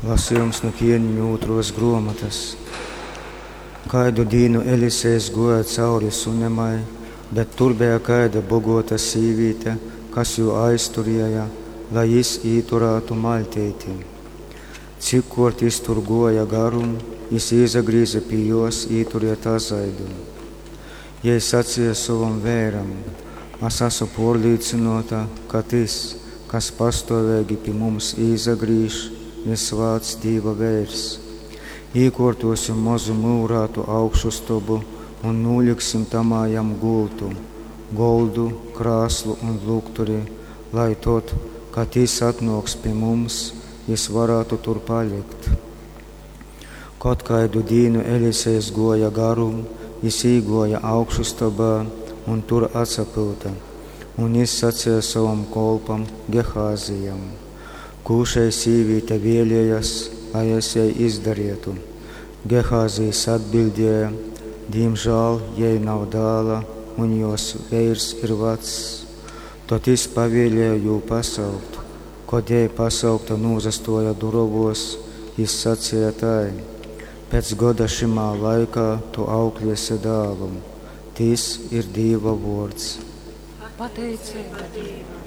Lasījums nu Ķieniņu ūtruos gruomotys. Kaidu dīnu Elisejs guoja cauri Sunemai, bet tur beja kaida boguota sīvīte, kas jū aizturēja, lai jis īturātu maļteiti. Cikkuort jis tur guoja garum, jis īsagrīze pi juos īturiet azaidu. Jei saceja sovam veiram, As asu puorlīcynuota, ka tys, kas pastuoveigi pi mums īsagrīž, ir svāts Dīva veirs. Īkuortuosim mozu myurātu augšustobu un nūliksim tamā jam gultu, goldu, krāslu un lukturi, lai tod, kad jis atnuoks pi mums, jis varātu tur palikt. Kod kaidu dīnu Elisejs guoja garum, jis īguoja augšustobā un tur atsapyuta. Un jis saceja sovam kolpam Gehāzijam, Kū šei sīvīte vēlējas, lai es jai izdarietu? Gehāzijs atbildēja, Dīmžāl jai nav dāla, un juos veirs ir vacs. Tod jis pavēlēja jū pasaukt. Kod jei pasaukta nūsastuoja durovuos, jis saceja tai, Pēc goda šymā laikā tu aukliesi dālu. Tys ir Dīva vuords. Pateiceiba Dīvam.